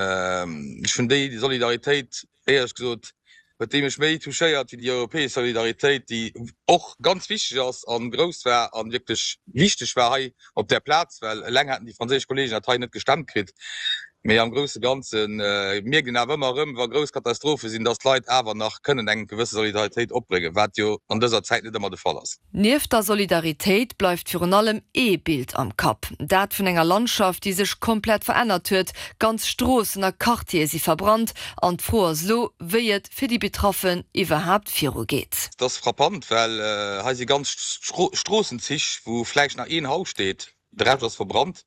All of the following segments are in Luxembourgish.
Ech hunn déi Solidaritéit, éierlech gesot, huet déi mech méi touchéiert wéi déi europäesch Solidaritéit, déi och ganz wichteg ass a grouss war a wierklech wichteg war hei op där Plaz, well eleng hätten déi franséisch Kollegen dat hei net gestemmt kritt. Mee am grousse Ganze mierkt een awer ëmmer erëm, wa grouss Katastrophe sinn, dass d'Leit awer nach kënnen eng gewësse Solidaritéit opbréngen, wat jo an dëser Zäit net ëmmer de Fall ass. Nieft der Solidaritéit bleift virun allem ee Bild am Kapp, dat vun enger Landschaft, déi sech komplett verännert huet. Ganz Stroossen a Quartiere si verbrannt an d'Fro ass elo, wéi et fir déi Betraffen iwwerhaapt virugeet. Et ass frappant, well hei si ganz Stroossenzich, wou vläicht nach een Haus steet. De Rescht ass verbrannt.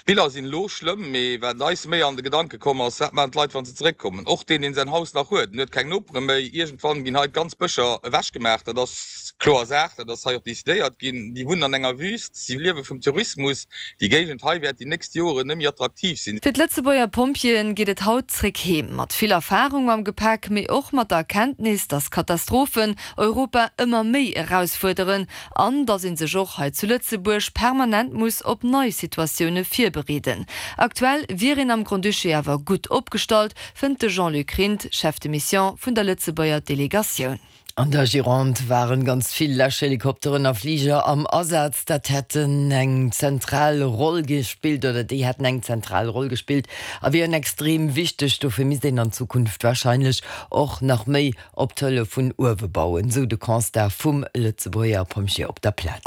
D'Biller sinn elo schlëmm, mee wat eis méi an de Gedanke komm ass, wat maachen d'Leit, wa se zeréckkommen? Och deen, deen säin Haus nach huet, en huet keng Nopere méi. Iergendwann ginn hei d'ganz Bëscher ewechgemaach, dat ass kloer Saach, dat ass hei och decidéiert ginn. Déi wunnen an enger Wüst, si liewe vum Tourismus. Déi Géigend hei wäert déi nächst Joren net méi attraktiv sinn. Fir d'Lëtzebuerger Pompjeeën geet et haut zréck heem, mat vill Erfarung am Gepäck, mee och mat der Erkenntnis, dass Katastrophen Europa ëmmer méi erausfuerderen An datt ee sech och hei zu Lëtzebuerg permanent muss op nei Situatioune virbereeden. Aktuell wier een am Grand-Duché awer gutt opgestallt, fënnt de Jean-Luc Rindt, Chef de Mission vun der Lëtzebuerger Delegatioun. An der Gironde waren ganz vill Läschhelikopteren a Fliger am Asaz. Dat hätten eng zentral Roll gespillt oder déi hätten eng zentral Roll gespillt a wieren extrem wichteg. Dofir misst een an Zukunft warscheinlech och nach méi Op d'Hëllef vun uewe bauen, sou de Constat vum Lëtzebuerger Pompjee op der Plaz.